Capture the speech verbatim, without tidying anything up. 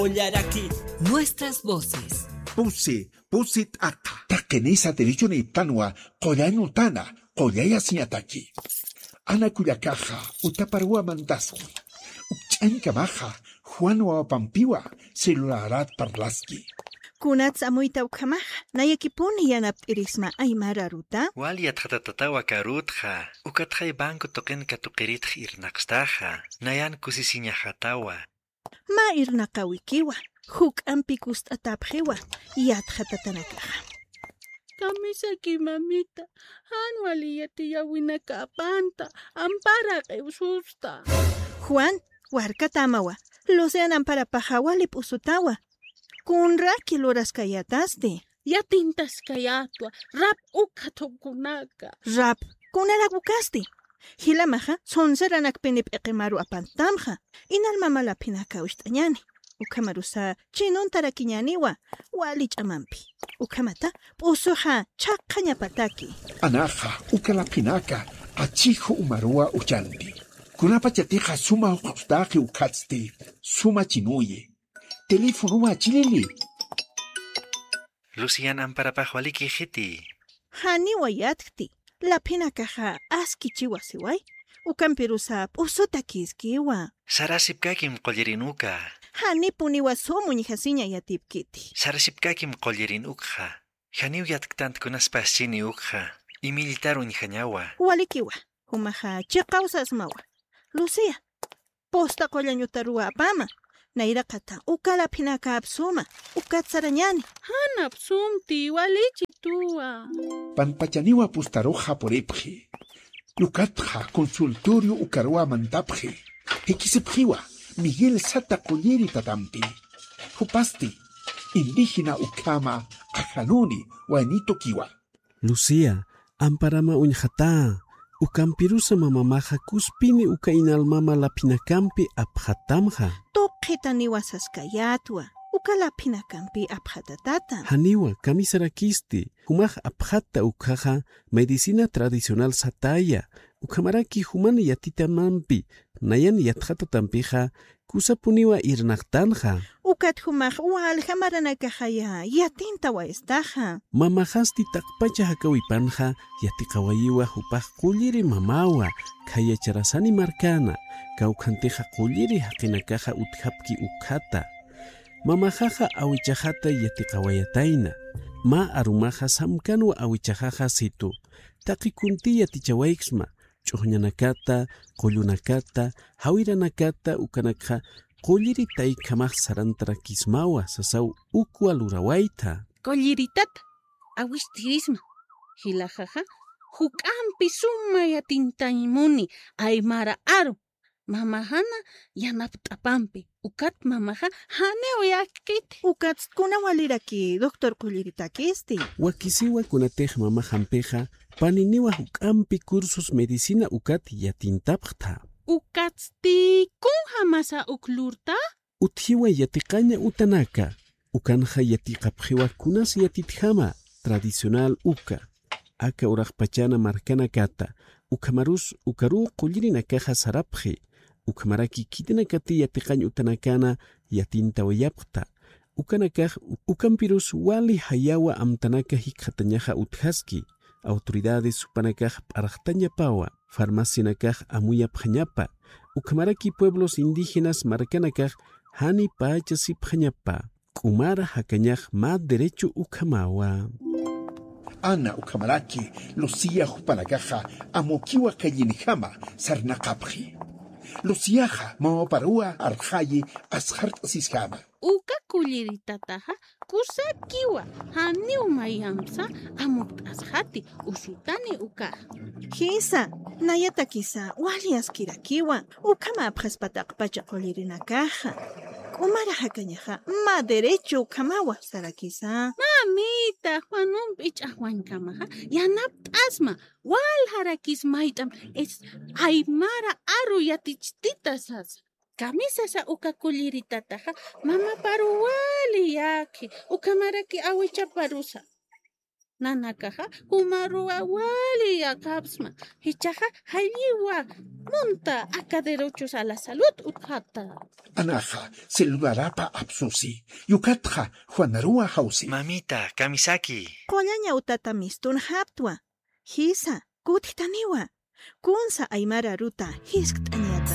Qullaraki, nuestras voces. Pusi, pusi t'aqa. Taqinisa derechonïptanwa, qullañ utana, qullay asiñataki. Ana kullakaxa, utaparuwa mantaski. Ukch'añkamaxa, Juan wawapampiwa, celularat parlaski. Kunats amuyta ukhamaxa, nayakipuni yanapt'irisma aymara aruta. Wal yatxatatatawa karutxa, ukatxay banco tuqin katuqiritx irnaqstaxa, nayan kusisiñaxatawa. Mä irnaqawikiwa, juk'ampi kust'atapxiwa, yatxatatanakaxa. Kamisaki mamita, jan wali yatiyäwinakapanta, ampara q'iwsusta. Juan, warkatämawa, Lucian amparapaxa wali p'usutawa. Kunraki luraskayätasti. Yatintaskayätwa, rap ukxa thuqunaka. Rap, kunarak ukasti. Jilamaxa, sonseranakpini p'iqimaru apantamxa. Inalmama laphinaka ucht'añani. Ukhamarusa, chinuntarakiñaniwa, wali ch'amampi. Ukhamata, p'usuxa, chhaqhañapataki. Anaxa, uka laphinaka, achiju umaruwa uchanti. Kunapachatixa suma juqt'ustaqi ukhatsti, suma chinuyi. Teléfonowa chilili. Lucian amparapax walikixiti. Janiwa yatkti, laphinakaxa askichiwa siway, ukampirusa p'usutakïskiwa. Sarasipkakim qullirin uka. Janipuniwa sum uñjasiña yatipkiti. Sarasipkakim qullirin ukxa. Janiw yatktant kunas paschini ukxa. Imilltar uñjañawa. Walikiwa, jumaxa chiqaw sasmawa. Lucía, posta qullañ utaruwa apama. Nayraqata, uka laphinaka apsuma, ukat sarañani. Jan apsumti, walichituwa. Pampachaniwa postaruxa puripxi. Ukatxa consultorio ukaruwa mantapxi. Jikisipxiwa, Miguel sata qulliri tatampi. Jupasti, indígena ukhama, ajanuni, waynitukiwa. Lucía, amparama uñxatá, ukampirusa mamamaxa kuspini uka inalmama laphinakampi apxatamxa. Tuqitaniwa saskayätwa, uka laphinakampi apxatatata. Janiwa, kamisarakisti, jumax apxatta ukxaxa, medicina tradicional sataya, ukhamaraki juman yatitamampi, nayan yatxatatampixa, kusapuniwa irnaqtanxa. Ukat jumax walja maranakaxaya, yatintawayistaxa. Mamaxasti taqpacha jakawipanxa, yatiqawayiwa jupax qulliri mamawa, khaya Charasani markana, kawkhantixa qulliri jaqinakaxa utjapki ukhata. Mamaxaxa awichaxata yatiqawayatayna. Mä arumaxa samkanwa awichaxaxa situ. Taqi kunti yatichawayksma, ch'uxñanakata, qullunakata, jawiranakata ukanakxa qulliri taykhamax sarantarakismawa sasaw ukwa lurawayta. Qulliritat, awistirisma. Jilaxaxa, juk'ampi suma yatintaymuni, aymara aru. Mamaxana yanapt'apampi, ukat mamaxa janiw yakkiti. Ukatst kuna waliraki, doctor qulliritakisti. Wakisiwa kunatix mamaxampixa, paniniwa juk'ampi cursos medicina ukat yatintapxta. Ukatsti kunjamasa uk lurta? Utjiwa yatiqaña utanaka, ukanxa yatiqapxiwa kunas yatitjama tradicional uka, aka uraqpachana markanakata, ukhamarus ukaruw qullirinakaxa sarapxi, ukhamaraki khitinakati yatiqañ utanakana yatintawayapxta, ukanakax ukampirus wali jayawa amtanaka jikxatañaxa utjaski, autoridades jupanakax p'arxtañapawa, farmacianakax amuyapxañapa, ukhamaraki pueblos indígenas markanakax janipächasipxañapa, k'umara jakañax mä derecho ukhamawa. Ana ukhamaraki Lucía jupanakaxa amukiwa kallinjama sarnaqapxi. Luciaxa mamaparuwa arxayi asxart'asiskama. Uka kulliritataxa kusakiwa, janiw mayampsa amukt'asxati, usutani ukaxa. Jisa, nayatakisa wali askirakiwa, ukhama apxaspa taqpacha qullirinakaxa. K'umara jakañaxa mä derecho ukhamawa sarakisa. Mamita, Juanumpi ch'axwañkamaxa yanapt'asma, waljarakis mayt'am es aymara aru yatichtita sasa. Kamisasa uka kulliritataxa mamaparu wali yaki, ukhamaraki awichaparusa. Nanakaxa jumaruwa wali yaqapsma. Jichhaxa jalliwa munta aka derechos a la salud utjata. Anaxa celularapa apsusi. Yukatxa juanaruwa jawsi. Mamita, kamisaki. Qullaña utata mistunxaptwa. Jisa, kutjtaniwa. Kunsa aymara aruta jiskt'aña.